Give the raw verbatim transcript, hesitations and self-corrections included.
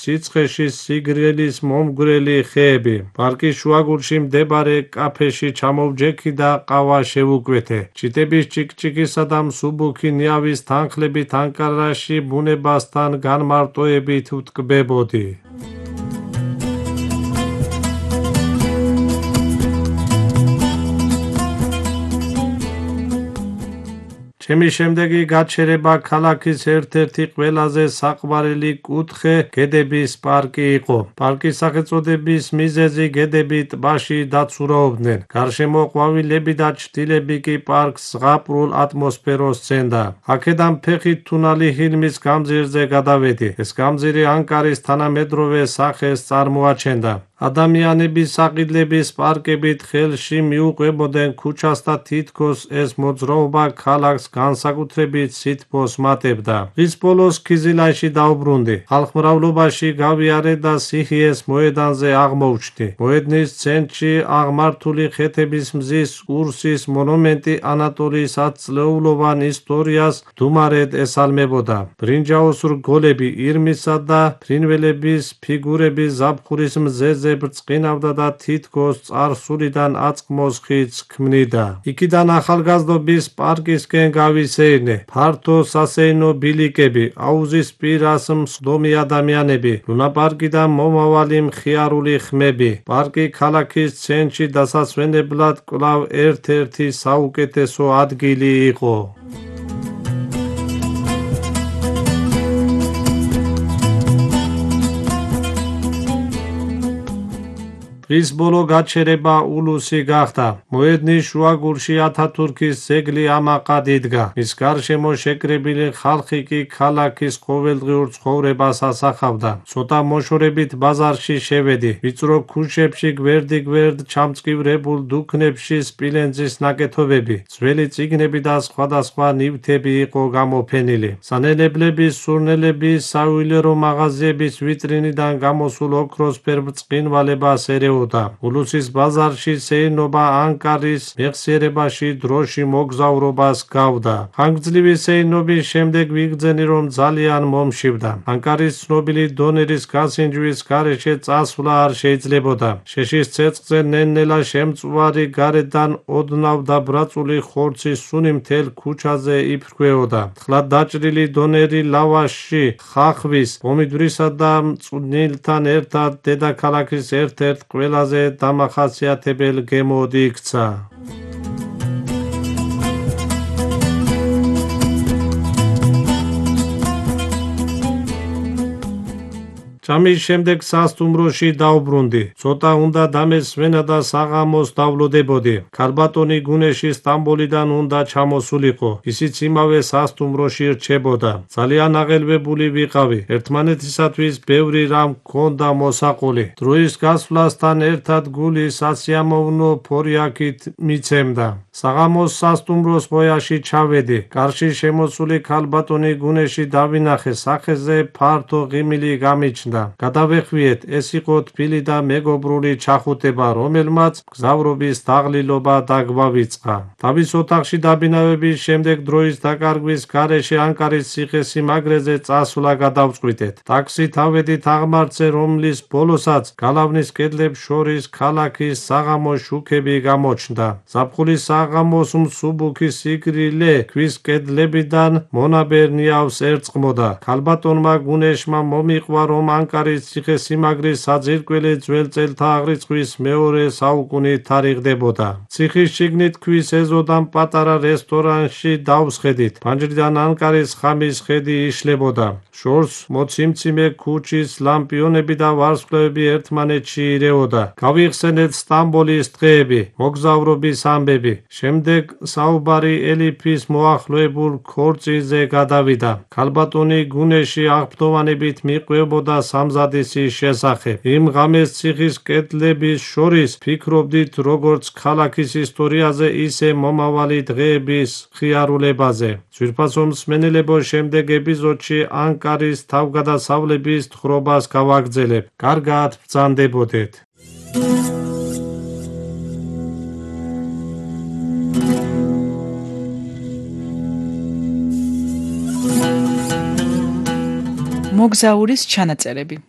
სიცხეში სიგრილის მომგვრელი ხეები. პარკის შუაგულში მდებარე კაფეში ჩამოვჯექი და ყავა შევუკვეთე. ჩიტების ჭიკჭიკისა და მსუბუქი ნიავის თანხლებით ანკარაში ბუნებასთან განმარტოებით ვტკბებოდი. ჩემი შემდეგი გაჩერება ქალაქის ერთ-ერთი ყველაზე საყვარელი კუთხე გედების პარკი იყო. პარკის სახელწოდების მიზეზი გედები ტბაში დაცურაობდნენ. გარშემო ყვავილები და ჩრდილები კი პარკს ზღაპრულ ატმოსფეროს სცენდა. აქედან ფეხით თუნალი ჰილმის გამზირზე გადავედი. ეს გამზირი ანკარის თანამედროვე სახეს წარმოაჩენდა. ადამიანების საყიდლების პარკებით ხელში მიუყვებოდნენ ქუჩას და თითქოს ეს მოძრაობა ქალაქს განსაკუთრებით სითბოს მატებდა. დღის ბოლოს ქიზილანში დავბრუნდი. ხალხმრავლობაში გავიარე და სიჰიეს მოედანზე აღმოჩნდი. მოედნის ცენტრში აღმართული ხეთების მზის კურსის მონუმენტი ანატოლიის ათწლეულოვან ისტორიას დუმარედ ესალმებოდა. ბრინჯაოს რგოლები, ირმისა და ფრინველების ფიგურები ზაფხულის მზეზე ბრწყინავდა და თითქოს წარსულიდან აწმოს ხიდს ქმნიდა. იქიდან ახალგაზრდობის პარკისკენ გავისეირნე. ფართო სასეირნო ბილიკები, აუზის პირას მსხდომი ადამიანები, ლუნაპარკიდან მომავალი მხიარული ხმები. პარკი ქალაქის ცენტრში დასასვენებლად კვლავ ერთ-ერთი საუკეთესო ადგილი იყო. დღის ბოლო გაჩერება ულუსი გახდა. მოედნის შუაგულში ათათურქის ძეგლი ამაყად იდგა. მის გარშემო შეკრებილი ხალხი კი ქალაქის ყოველდღიურ ცხოვრებას ასახავდა. ცოტა მოშორებით ბაზარში შევედი. ვიწრო ქუჩებში გვერდიგვერდ ჩამწკივრებულ დუქნებში სპილენძის ნაკეთობები, ძველი წიგნები და სხვადასხვა ნივთები იყო გამოფენილი. სანელებლების, სურნელების, საიუველირო მაღაზიების ვიტრინიდან გამოსულ ოქროსფერ ბრწყინვალებას ერეოდა. ულუსის ბაზარში სეირნობა ანკარის მეხსიერებაში დროში მოგზაურობას გავდა. ხანგრძლივი სეირნობის შემდეგ ვიგრძენი, რომ ძალიან მომშივდა. ანკარის ცნობილი დონერის გასინჯვის გარეშე წასვლა არ შეიძლებოდა. შეშის ცეცხლზე ნელ-ნელა შემწვარი გარედან ოდნავ დაბრაწული ხორცის სუნი მთელ ქუჩაზე იფრქვეოდა. თხლად დაჭრილი დონერი ლავაში, ხახვის, პომიდვრისა და მწვნილთან ერთად დედაქალაქის ერთ-ერთ ყველაზე დამახასიათებელ გემოდ იქცა. ჭამის შემდეგ სასტუმროში დავბრუნდი. ცოტა უნდა დამესვენა და საღამოს დავლოდებოდი. ქალბატონი გუნეში სტამბოლიდან უნდა ჩამოსულიყო. ისიც იმავე სასტუმროში რჩებოდა. ძალიან აღელვებული ვიყავი. ერთმანეთისათვის ბევრი რამ ჰქონდა მოსაყოლი. დროის გასვლასთან ერთად გული სასიამოვნო ფორიაქით მიცემდა. საღამოს სასტუმროს ყოიაში ჩავედი. კარში შემოსული ქალბატონი გუნეში დავინახე. სახეზე ფართო ღიმილი გამიჩნდა. გადავეხვიეთ, ეს იყო თბილი და მეგობრული ჩახუტება, რომელმაც მგზავრობის დაღლილობა დაგვავიწყა. თავის ოთახში დაბინავების შემდეგ დროის დაკარგვის გარეშე ანკარის ციხესიმაგრეზე წასვლა გადავწყვიტეთ. ტაქსით ავედით აღმართზე, რომლის ბოლოსაც გალავნის კედლებს შორის ქალაქის საღამოს შუქები გამოჩნდა. ზაფხულის საღამოს მსუბუქი სიგრილე ქვის კედლებიდან მონაბერ ნიავს ერწყმოდა. ქალბატონმა გუნეშმა მომიყვა, რომ ანკარის ციხესიმაგრის საძირკველი ძველ წელთა აღრიცხვის მეორე საუკუნით თარიღდებოდა. ციხის შიგნით ქვის ეზოდან პატარა რესტორანში დავსხედით. ფანჯრიდან ანკარის ხამის ხედი იშლებოდა. შორს მოციმციმე ქუჩის ლამპიონები და ვარსკვლავები ერთმანეთში ირეოდა. გავიხსენეთ სტამბოლის დღეები, მოგზაურობის ამბები. შემდეგ საუბარი ელიფის მოახლოებულ ქორწილზე გადავიდა. ქალბატონი გუნეში აღფრთოვანებით მიყვებოდა სამზადისის შესახებ. იმ ღამეს ციხის კედლების შორის ფიქრობდით როგორც ქალაქის ისტორიაზე, ისე მომავალი დღეების მხიარულებაზე. ძვირფასო მსმენელებო, შემდეგ ეპიზოდში ანკარის თავგადასავლების თხრობას გავაგრძელებ. კარგად ბრძანდებოდეთ. მოგზაურის ჩანაწერები.